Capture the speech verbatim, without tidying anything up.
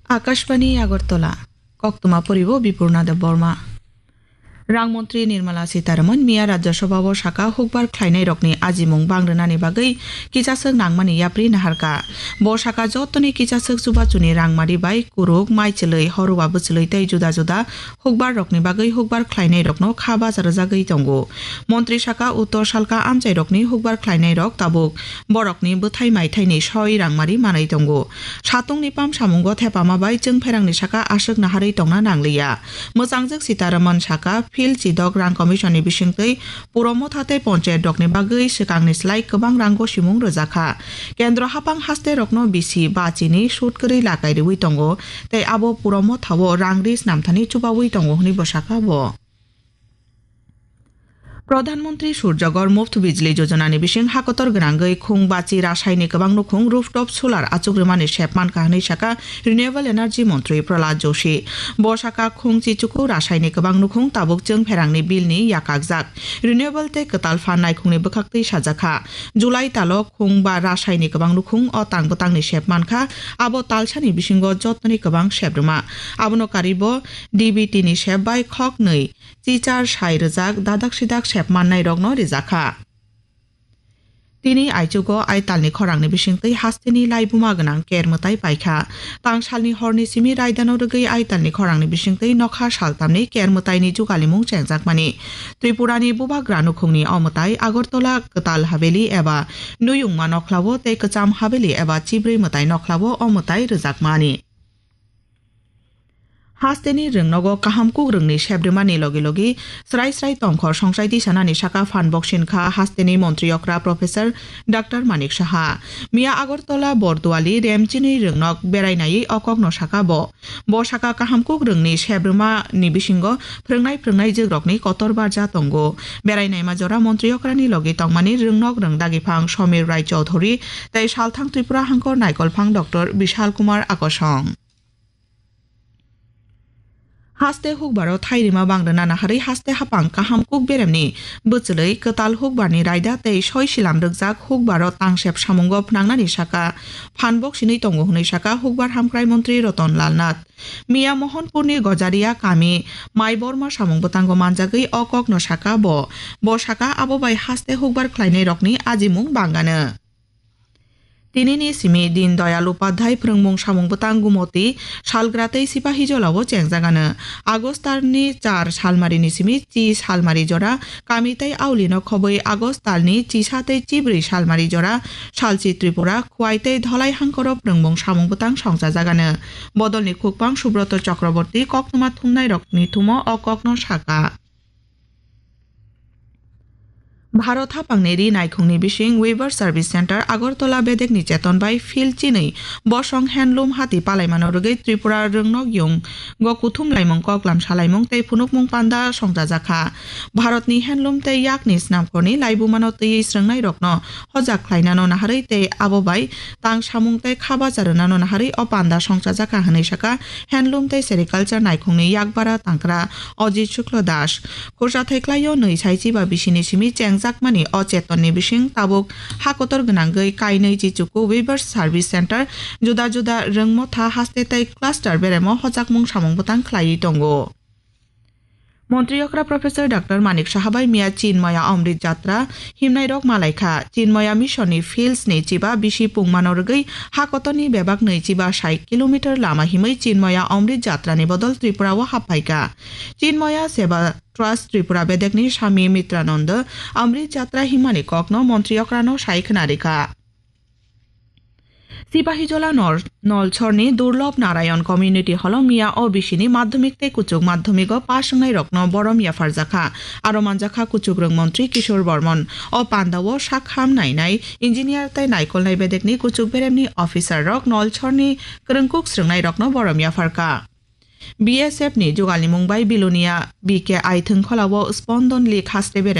Akashbani Agartala, koktwma poribo Bipurna Debbarma. Rang montri Nirmala Sitharaman miya Rajya Sabha o saka hukbar khlainairokni ajimung bang rwnani bagwi kichaswk nangmani yapri naharkha. Bo saka jotoni kichaswk chubachuni rangmari bai kuruk, maichwlwi, horwa bwchwlwi tei juda juda hukbar rokni bagwi hukbar khlainai rokno kha bacha rwjagwi tongo. Montri saka uttor salka amchai rokni hukbar khlainai rok tabuk borokni bwthai maithaini soi rangmari manwi tongo. Satungni pam samungo thepama bai chwng pherangni saka aswk naharwi tongna nangliya. Mwchangjwk Sitaraman saka field chidok rang commission ni bisingtwi puro motha tei ponchayat rokni bagwi swkangni slai kwbang rang gosimung rwjakha. Kendro hapang haste rokno bisi ba chini sut kwrwi lakai rwui tongo. Tei abo puro mothao rang ri snamthani chubaui tongo hwnwi bo saka bo. Pradhan Mantri Surjagor Muft Bijli Yojana ni bising hakotor gwnangwi khung bachi rasai ni kwbang nukhung rooftop solar achuk rwmani sep mankha hwnwi saka Renewable Energy Montri Prahlad Joshi. Bo saka khung chichuku rasai ni kwbang nukhung tabuk chwng pherangni bill ni yakakjak. Renewable tei kwtal phan naikhungni bwkhaktwi sajakha. July talo khung ba rasai ni kwbang nukhung o tang bwtangni sep mankha, abo talsani bisingo jotoni kwbang sep rwma. Abono karibo D B T ni sep bai khoknwi chichar sai rwjak dadak sidak sep mannairokno rijakha. Tini aichugo aitalni khorangni bisingtwi hasteni laibuma gwnang ker mwtai paikha. Tangsalni horni simi raidano rwgwi aitalni khorangni bisingtwi nokha saltamni ker mwtaini jugalimung chengjakmani. Tripurani bubagra nukhungni o mwtai Agartala Kwtal Haveli eba Nuyungma nokhlao tei Kwcham Haveli eba Chibrwi mwtai nokhlao o mwtai rwjakmani. Hasteni rwngnogo kaham kukrwngni sep rwmani logi logi srai srai tongkhor songchai tisanani saka phan boksin kha hasteni montri okra Professor Doctor Manik Saha. Miya Agartala Borduali Remchini rwngnok berainaiwi o kokno saka bo. Bo saka kaham kukrwngni sep rwmani bisingo phrwngnai phrwngnai jwkrokni kotor barja tongo. Berainaima jora montri okrani logi tongmani rwngnok rwngdagiphang Somir Rai Chaudhury tei salthang Tripura hangkor naikolphang Doctor Bishal Kumar Akosong. Haste hukbaro thairima bang rwna naharwi haste hapang kaham kuk beremni bwchwlwi kwtal hukbarni raida tei soi silam rwkjak hukbaro tangsep samungo phnangnani saka phan boksinwi tongo hwnwi saka hukbar hamkrai montri Ratan Lal Nath. Miya Mohanpurni Gojaria kami Mai Borma samung bwtango manjagwi o kokno saka bo. Bo saka abo bai haste hukbar khlainairokni ajimung bangano. Tinini simi Din Doyal Upadhyay phrwngmung samung bwtang Gumoti, Salgra tei Sipahijolao chengjagano. August talni char salmarini simi chi salmari jora kami tei aulino khobwi August talni chisa tei chibrwi salmari jora salchi Tripura, Khwai tei Dholai hangkoro phrwngmung samung bwtang songchajagano. Bodolni khukpang Subroto Chakraborty koktwma thumnairokni thumo o kokno saka. Bharat haphangni ri naikhungni bising Weaver Service Centre Agartala bedekni cheton bai field chinwi bosong handloom hati palaimano rwgwi Tripura rwngnok yunggo kuthum laimung koklam salaimung tei phunukmung panda songchajakha. Bharatni handloom tei yakni snamkhorni laibumano twiwi srwngnairokno hojak khlainano naharwi tei abo bai tang samung tei kha bacha rwnano naharwi o panda songchajakha hwnwi saka handloom tei sericulture naikhungni yakbara tangkra Ajit Shukla Das. Khorsa thaiklaio nwi saichi ba bisini simi chengjakmani o chetonni bising tabuk ha kotor gwnangwi kainwi chichuku Weavers Service Centre juda juda rwngmotha haste tei cluster beremo hojakmung samung bwtang khlaiwi tongo. Montri okra Professor Doctor Manik Saha bai miya Chinmaya Amrit Jatra himnairok malaikha. Chinmaya Mission ni fields ni chiba bisi pungmano rwgwi ha kotorni bebak nwi chiba sai kilometer lama himwi Chinmaya Amrit Jatra ni bodol Tripura o haphaikha. Chinmaya Seva Trust Tripura bedekni Swami Mitrananda Amrit Jatra himmani kokno montri okrano sai khwnarikha. Sipahijola Nor-, Nolchorni Durlob Narayan Community Hall-o miya O B C ni madhyamik tei kuchuk madhyamigo pass wngnairokno borom yapharjakha. Aro manjakha kuchukrwng montri Kishore Bormon. O pandao sakham nainai, engineer tei naikolnai bedekni kuchuk beremni officer rok Nolchorni kwrwngkuk srwngnairokno borom yapharkha. B S F ni jugalni mung bai Bilonia B K I thwngkholao Spondon League haste